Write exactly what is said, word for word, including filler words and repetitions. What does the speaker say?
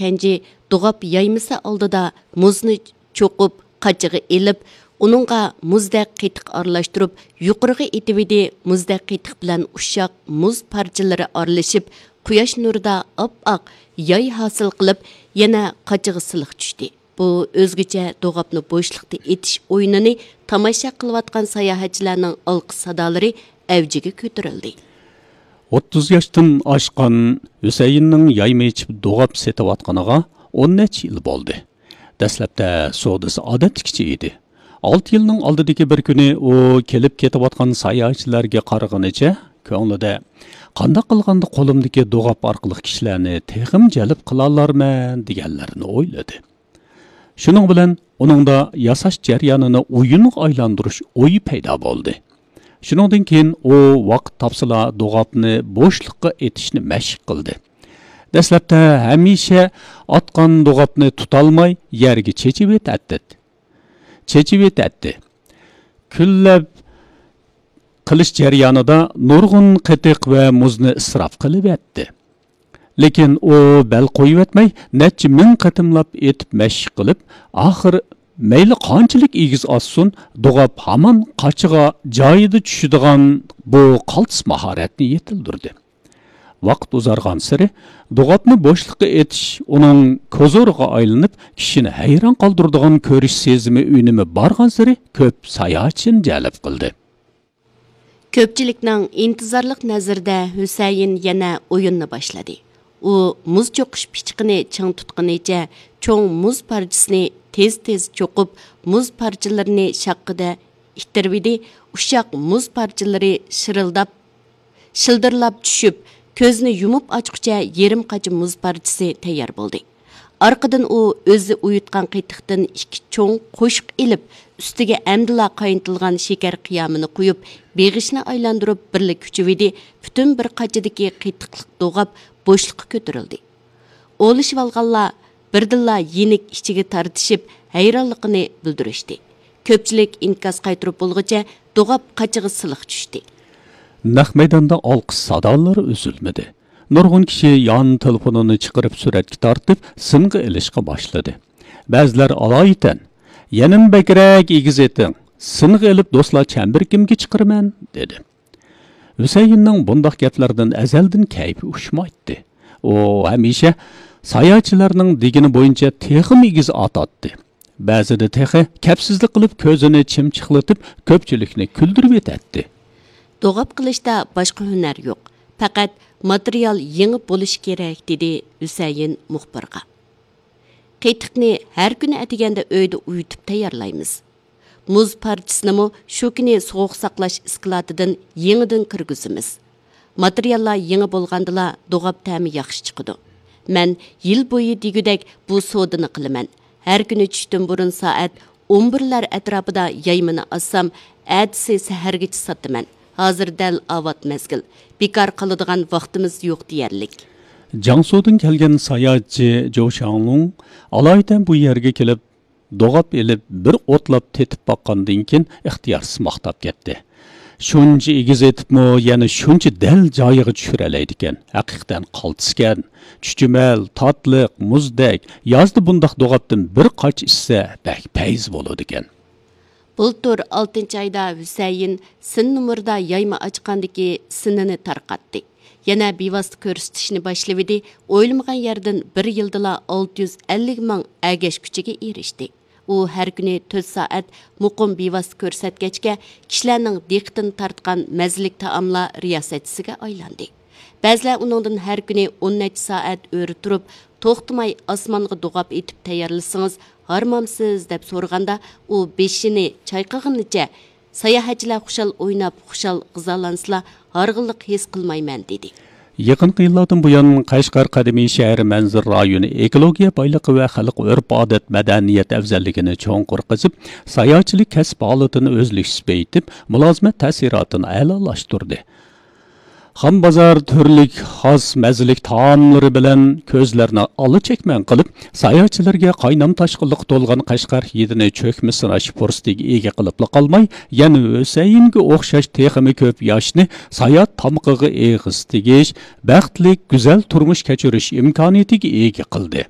كەنجى دوغاپ يايمىسى ئالدىدا مۇزنى چوقۇپ، قاچىغا ئېلىپ، ئۇنىڭغا مۇزدەك قېتىق ئارىلاشتۇرۇپ، يۇقىرىغا ئېتىۋىدى. مۇزدەك قېتىق بىلەن ئۇششاق مۇز پارچىلىرى ئارىلىشىپ، قۇياش نۇرىدا ئاپئاق ياي ھاسىل قىلىپ، يەنە قاچىغا سىلىق چۈشتى. بۇ ئۆزگىچە دوغاپنى بوشلۇقتا ئېتىش ئويۇنىنى تاماشا قىلىۋاتقان ساياھەتچىلەرنىڭ ئالقىش سادالىرى ئەۋجىگە كۆتۈرۈلدى. ئوتتۇز ياشتىن ئاشقان ھۈسەيىننىڭ يايما ئېچىپ دوغاپ سېتىۋاتقىنىغا ئون نەچچە يىل بولدى. دەسلەپتە سودىسى ئادەتتىكىچە ئىدى. ئالتە يىلنىڭ ئالدىدىكى بىر كۈنى ئۇ كېلىپ كېتىۋاتقان ساياھەتچىلەرگە قارىغىنىچە، كۆڭلىدە، «قانداق قىلغاندا قولۇمدىكى دوغاپ ئارقىلىق كىشىلەرنى تېخىمۇ جەلپ قىلالارمەن؟» دېگەنلەرنى ئويلىدى. شۇنىڭ بىلەن ئۇنىڭدا ياساش جەريانىنى ئويۇنغا ئايلاندۇرۇش ئويى پەيدا بولدى. شۇنىڭدىن كېيىن ئۇ ۋاقىت تاپسىلا دوغاپنى بوشلۇققا ئېتىشنى مەشىق قىلدى. دەسلەپتە ھەمىشە ئاتقان دوغاپنى تۇتالماي يەرگە چېچىۋېتەتتى. چېچىۋېتەتتى. كۈنلەپ قىلىش جەريانىدا نۇرغۇن قېتىق ۋە مۇزنى ئىسراپ قىلىۋەتتى. لېكىن ئۇ بەل قويۇۋەتمەي، نەچچە مىڭ قېتىملاپ ئېتىپ مەشىق قىلىپ، ئاخىر مەيلى قانچىلىك ئېگىز ئاتسۇن، دوغاپ ھامان قاچىغا جايىدا چۈشىدىغان بۇ قالتىس ماھارەتنى يېتىلدۈردى. ۋاقىت ئۇزارغانسېرى، دوغاپنى بوشلۇققا ئېتىش ئۇنىڭ كوزۇرىغا ئايلىنىپ، كىشىنى ھەيران قالدۇرىدىغان كۆرۈش سېزىمى ئۈنۈمى بارغانسېرى كۆپ ساياھەتچىنى جەلپ قىلدى. كۆپچىلىكنىڭ ئىنتىزارلىق نەزىرىدە ھۈسەيىن يەنە ئويۇننى باشلىدى. ئۇ مۇز چوقۇش پىچىقىنى چىڭ تۇتقىنىچە چوڭ مۇز پارچىسىنى تېز-تېز چوقۇپ، مۇز پارچىلىرىنى شاققىدە ئىتتىرىۋىدى. ئۇششاق مۇز پارچىلىرى شىرىلداپ، شىلدىرلاپ چۈشۈپ، كۆزنى يۇمۇپ ئاچقۇچە يېرىم قاچا مۇز پارچىسى تەييار بولدى. ئارقىدىن ئۇ ئۆزى ئۇيۇتقان قېتىقتىن ئىككى چوڭ قوشۇق ئېلىپ، ئۈستىگە ئەمدىلا قاينىتىلغان شېكەر قىيامىنى قۇيۇپ، بېغىشنى ئايلاندۇرۇپ، بىرلا كۈچىۋىدى. پۈتۈن بىر قاچىدىكى قېتىقلىق دوغاپ بوشلۇققا كۆتۈرۈلدى. ئولىشىۋالغانلار بىردىنلا يېنىك ئىچىگە تارتىشىپ، ھەيرانلىقىنى بىلدۈرۈشتى. كۆپچىلىك ئىنكاس قايتۇرۇپ بولغۇچە دوغاپ قاچىغا سىلىق چۈشتى. نەق مەيداندا ئالقىش سادالىرى ئۈزۈلمىدى. نۇرغۇن كىشى يان تېلېفونىنى چىقىرىپ سۈرەتكە تارتىپ، سىنغا ئېلىشقا باشلىدى. بەزىلەر ئالايىتەن، «يەنىمۇ بەكرەك ئېگىز ئېتىڭ، سىنغا ئېلىپ دوستلار چەمبىرىكىمگە چىقىرىمەن» دېدى. ھۈسەيىننىڭ بۇنداق گەپلەردىن ئەزەلدىن كەيپى ئۇشمايتتى. ئۇ ھەمىشە ساياھەتچىلەرنىڭ دېگىنى بويىچە تېخىمۇ ئېگىز ئاتاتتى. بەزىدە تېخى كەپسىزلىك قىلىپ، كۆزىنى چىمچىقلىتىپ، كۆپچىلىكنى كۈلدۈرۈۋېتەتتى. دوغاپ قىلىشتا باشقا ھۈنەر يوق، پەقەت ماتېرىيال يېڭى بولۇشى كېرەك، دېدى ھۈسەيىن مۇخبىرغا. قېتىقنى ھەر كۈنى ئەتىگەندە ئۆيدە ئۇيۇتۇپ تەييارلايمىز. مۇز پارچىسىنىمۇ شۇ كۈنى سوغۇق ساقلاش ئىسكىلاتىدىن يېڭىدىن كىرگۈزىمىز. ماتېرىياللار يېڭى بولغاندىلا دوغاپ تەمى ياخشى چىقىدۇ. مەن يىل بويى دېگۈدەك بۇ سودىنى قىلىمەن. ھەر كۈنى چۈشتىن بۇرۇن سائەت ئون بىرلەر ئەتراپىدا يايمىنى ئاسسام، ئەتىسى سەھەرگىچە ساتىمەن. ھازىر دەل ئاۋات مەزگىل. بىكار قالىدىغان ۋاقتىمىز يوق دېيەرلىك. جياڭسۇدىن كەلگەن ساياھەتچى جوۋ شاڭلۇڭ ئالايىتەن بۇ يەرگە كېلىپ، دوغاپ ئېلىپ، بىر ئوتلاپ تېتىپ باققاندىن كېيىن، ئىختىيارسىز ماختاپ كەتتى. «شۇنچە ئېگىز ئېتىپمۇ، يەنە شۇنچە دەل جايىغا چۈشۈرەلەيدىكەن. ھەقىقەتەن قالتىسكەن. چۈچۈمەل، تاتلىق، مۇزدەك. يازدا بۇنداق دوغاپتىن بىر قاچا ئىچسە، بەك پەيز بولىدىكەن.» بۇلتۇر ئالتىنچى ئايدا ھۈسەيىن سىن نومۇردا يايما ئاچقاندىكى سىنىنى تارقاتتى. يەنە بىۋاسىتە كۆرسىتىشنى باشلىۋىدى، ئويلىمىغان يەردىن بىر يىلدىلا ئالتە يۈز ئەللىك مىڭ ئەگەشكۈچىگە ئېرىشتى. ئۇ ھەر كۈنى تۆت سائەت مۇقىم بىۋاسىتە كۆرسەتكەچكە، كىشىلەرنىڭ دىققىتىنى تارتقان مەززىلىك تائاملار رىياسەتچىسىگە ئايلاندى. بەزىلەر ئۇنىڭدىن ھەر كۈنى ئون نەچچە سائەت ئۆرە تۇرۇپ، توختىماي ئاسمانغا دوغاپ ئېتىپ تەييارلىسىڭىز، ھارمامسىز دەپ سورىغاندا، ئۇ بېشىنى چايقىغىنىچە، ساياھەتچىلەر خۇشال ئويناپ، خۇشال غىزالانسىلا، ھارغىنلىق ھېس قىلمايمەن، دېدى. يېقىنقى يىللاردىن بۇيان، قەشقەر قەدىمىي شەھەر مەنزىرە رايونى ئېكولوگىيە بايلىقى ۋە خەلق ئۆرپ-ئادەت مەدەنىيەت ئەۋزەللىكىنى چوڭقۇر قېزىپ، ساياھەتچىلىك كەسىپ ھالىتىنى ئۈزلۈكسىز بېيىتىپ، مۇلازىمەت تەسىراتىنى ئەلالاشتۇردى. خام بازار تۈرلۈك خاس مەززىلىك تائاملىرى بىلەن كۆزلەرنى ئالا چەكمەن قىلىپ، ساياھەتچىلەرگە قاينام تاشقىنلىققا تولغان قەشقەر ھىدىنى چۆكمە سىناش پۇرسىتىگە ئىگە قىلىپلا قالماي، يەنە ھۈسەيىنگە ئوخشاش تېخىمۇ كۆپ ياشنى ساياھەت تامىقىغا ئېغىز تېگىش، بەختلىك، گۈزەل تۇرمۇش كەچۈرۈش ئىمكانىيىتىگە ئىگە قىلدى.